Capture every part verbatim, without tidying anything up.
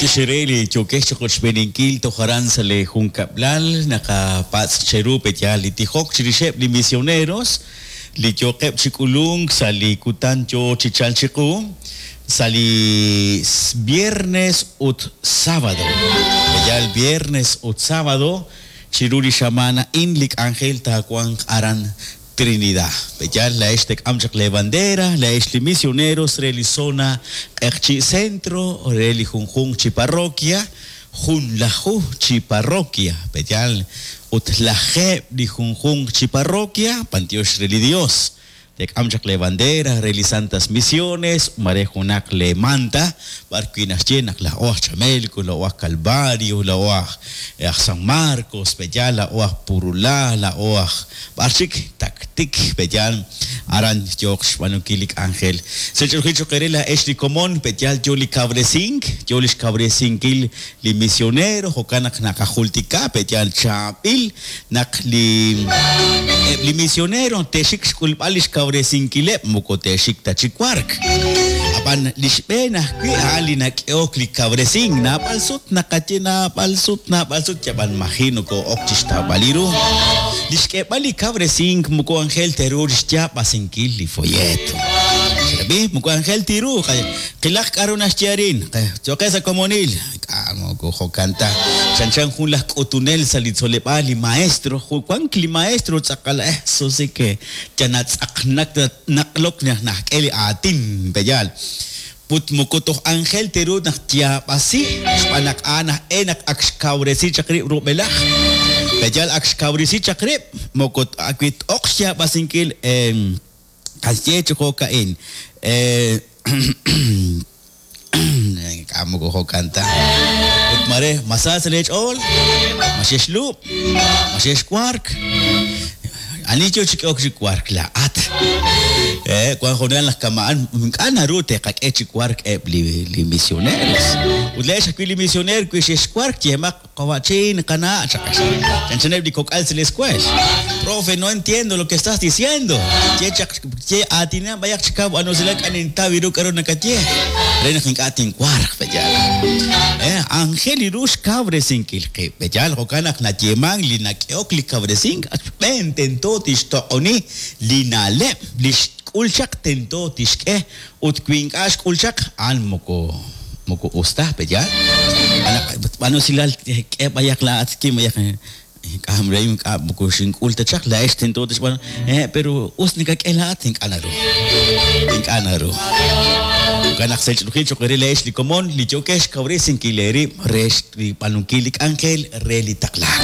Matiox re li yookex chi qochb'eeninkil toj aran sa' li junkab'lal naqapatz' cheru pe'yaal li tijok chirixeb' li misioneros li yooqeb' chi k'ulunk sa' li kutan yoo chi chalk chiqu sa' li viernes ut sábado. Pe'yaal viernes ut sábado chiru li xamaan a'in li k'anjel taawanq aran Trinidad. Pe'yaal laa'ex tek'am chaq le bandera, laa'ex li misioneros re li zona Q'eqchi' Centro, re li junjunq chi parroquia, junlaju chi parroquia. Pe'yaal ut lajeeb' li junjunq chi parroquia, b'antiox re li Dios. Tek'am chaq le bandera re li Santas Misiones, mare junaq le manta, b'ar wi' naxye naq laa'o aj Chamelco, laa'o aj Calvario, laa'o aj aj San Marcos, pe'yaal laa'o aj Purulá, laa'o aj b'ar chik Taktik, pe'yaal aran yooq xb'aanunkil li k'anjel. Sech'olji choq re laa'ex li komon, pe'yaal yo li kawresink, yo li xkawresinkil li misionero, jo'kan naq naqajultika, pe'yaal chaab'il naq li eb' li misionero te'xik xk'ulb'al li xkawresinkileb' moko te'xik ta chi wark. Ab'an li xb'een ajwi' a'an li nak'ehok li kawresink, naab'al sut naqaye naab'al sut naab'al sut yab'an maji nokoo'ok chi xtawb'al ru. Li xk'eeb'al li kawresink moko anjel teru li xyaab'asinkil li folleto. Xrab'i, moko anjel tiru, qilaq k'aru naxye arin, choqe sa' komonil, k'a moko jo'kan ta. Chanchan jun laj k'utunel sa' li tzoleb'aal li maestro, wank li maestro tz'aqal eh, eso sí que yanatz'aqnak naqlok najk'e li aatin pe'yaal. Ut moko toj anjel teru naq yaab'asi, xb'aan naq a'an aj e naq ak xkawresi chaq rib' rub'elaj. Pe'yaal ak xkawresi chaq rib', moko wi t'oq xyaab'asinkil qaye chi jo'ka'in. K'a moko jo'kan ta. Ut mare, ma sa sa' leech'ool, ma xexlub', ma xexwark. Ani yo chi k'ehok chi wark laa'at. Eh, wan junal naq kama'an ink'a' naru te'qak'e chi wark eb' li li misioneros. Ut laa'ex ajwi' li misioner wi xexwark yemaq qawa'chin qana' chaqax. Chanchaneb' li kok'al sa' la escuela. Profe, no entiendo lo que estás diciendo. Ye chaq ye aatinan b'ayaq chi kaw b'anusilal k'a nintaw ru k'aru nakaye. Re naq ink'a' tinwarq pe'yaal. Eh, anjel ru xkawresinkil qib' pe'yaal jo'kan naq nayeeman li nak'ehok li kawresink xb'een tento tixtoq'oni li na'leb' li xk'ul chaq tento tixk'e ut wi ink'a' xk'ul chaq a'an moko moko us ta pe'yaal. B'anusilal k'e b'ayaq laa'at kim b'ayaq ink'a' re ink'a' moko xink'ul ta chaq laa'ex tento tixb'aanu eh pero us nakak'e laa'at ink'a' naru. Ink'a' naru. Jo'kan naq sech'olji choq re laa'ex li komon li yookex xkawresinkil eerib' re xb'aanunkil li k'anjel re li taqlaak.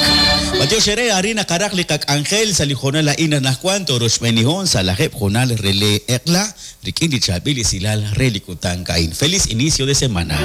Matiox re arin naqaraq li qak'anjel sa' li hoonal a'in anaqwan toroxb'eenihon sa' lajeeb' hoonal re li eq'la rik'in li chaab'il esilal re li kutan a'in. Feliz inicio de semana.